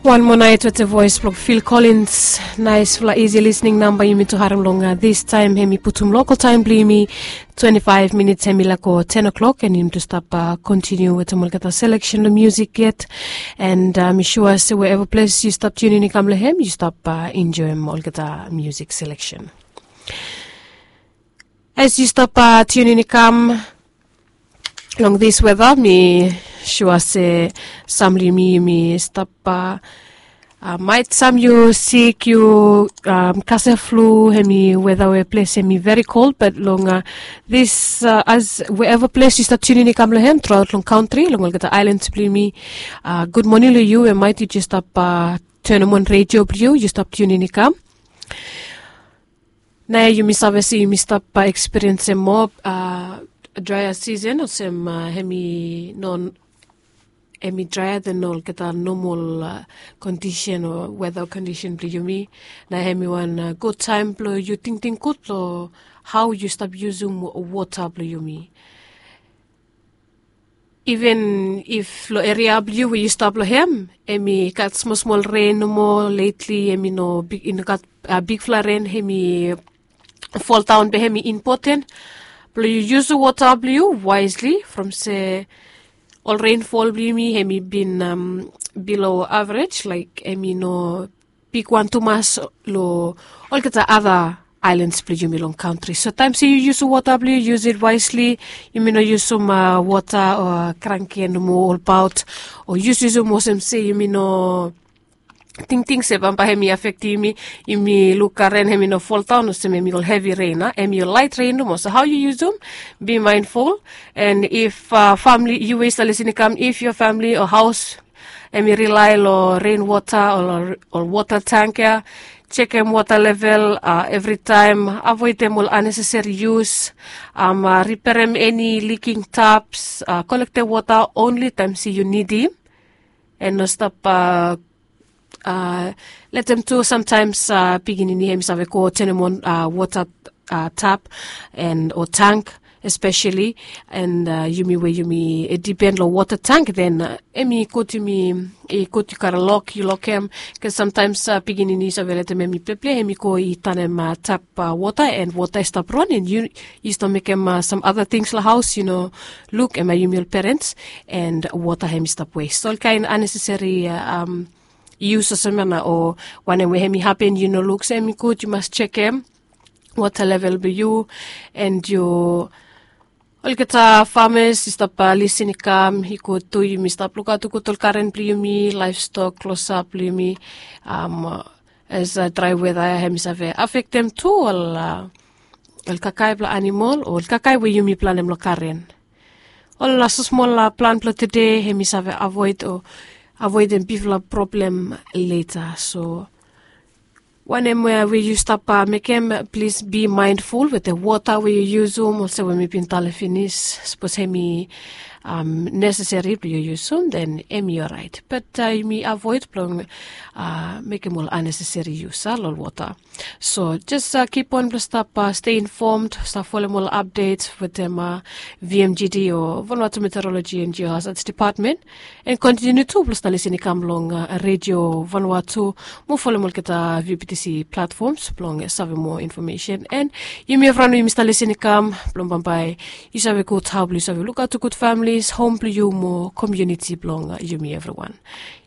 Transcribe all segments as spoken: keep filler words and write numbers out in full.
Wan moa nait wetem voes blong Phil Collins. Naisfala isi lisning namba yumi tu harim long distaem. Hem i putum lokal taem blong yumi twenti faef minits hem i laek go ten o'klok, and yumi tu stap kontiniu wetem olgeta seleksen long musik yet. And mi sua se wherever ples yu stap tiunin i kam long hem, yu stap enjoem olgeta musik seleksen. As yu stap tiunin i kam long this weather, mi sua se sam long yumi yumi stap uh, maet sam yu sik, yu um, kasem flu, hem i weather we ples hem i very cold, but long uh, this uh, as wherever ples yu stap tiunin i kam long hem, throughout long country, long olgeta islands blong yumi, uh, good morning long yu, and maet yu jes stap uh, turn on radio blong yu, yu stap tiunin i kam. Naoia yumi save se yumi stap ekspiriensem moa dryer season olsem, hem i no, hem i dryer than olgeta nomol kondisen o weta kondisen blong yumi. Naoia hem i wan gud taem blong yu tingting gud long hao yu stap yusum wota blong yumi. Even if long eria blong yu we yu stap long hem, hem i gat smol smol ren nomo lately, hem i no bigfala ren hem i foldaon, be hem i impoten blong yu yusum wota blong yu waesli, from se ol renfol blong yumi hem i bin bilo avrej, laek hem i no bigwan tumas long olgeta ada aelans blong yumi long kantri. So taem se yu yusum wota blong yu, yus it waesli. Yumi no yusum wota o kranki nomo olbaot, o yusyusum olsem se yumi no tingting se bambae hem i afektem yumi. Yumi luk ren hem i no foldaon olsem hem i ol hevi ren, a hem i ol laet ren nomo. So hao yu yusum, bi maenful. And if famili yu we yu stap lisin i kam, if yoa famili o haos hem i rilae long renwota o wota tang ya, jekem wota level evritaem, avoedem ol anneseseri yus, riperem eni liking taps, kolektem wota onli taem se yu nidim. And no stap letem tu samtaems pikinini hem i save go tenem on wota tap and o tang, espeseli and yumi we yumi dipen long wota tang, then hem i gud yumi i gud yu karem lok, yu lokem. Bikos samtaems pikinini yu save letem hem i pleple, hem i go i tanem tap wota and wota i stap ron and yu stap mekem sam ada tings long haos, yu no luk, hem i yumi ol perens, and wota hem i stap wes. So olkaen anneseseri yus olsem ya na o wanem we hem i hapen yu no luk, so hem i gud yu mas jekem wota level blong yu. And yu olgeta famas i stap lisin i kam, i gud tu yumi stap lukaot gud ol garen blong yumi, laevstok, klosap blong yumi. As drae weta ya hem i save afektem tu ol kakae blong animol o ol kakae we yumi planem long garen. Ol smosmol plan blong tede hem i save avoed o avoedem bigfala problem leta. So wanem we yu stap mekem, plis bi maenful wetem wota we yu yusum. Olsem we mi bin talem finis, sapos hem i neseseri blong yu yusum, then hem i oraet, bat yumi avoed blong mekem ol anneseseri yus long ol wota. So jes kip on blong stap stei infomd, stap folem ol apdet wetem vmgd o Vanuatu Meteorologi and Geohazards Depatmen. And kontiniu tu blong stap lisin i kam long redio Vanuatu, mo folem olgeta vptc platfoms blong save moa infomesen. And yumi evriwan we yumi stap lisin i kam, blong bambae yu save gud hao blong yu save lukaot gud familis, hom blong yu mo komuniti blong yumi evriwan.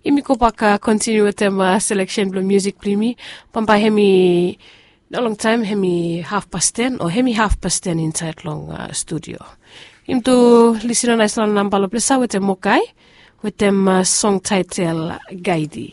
Yumi gobak kontiniu wetem seleksen blong musik blong yumi. Bambae hem i no longtaem hem i hafpas ten o hem i hafpas ten insaed long studio. Yumi tu lisin long naesfala namba long plesa wetem Mokai wetem song taetel Gaidi.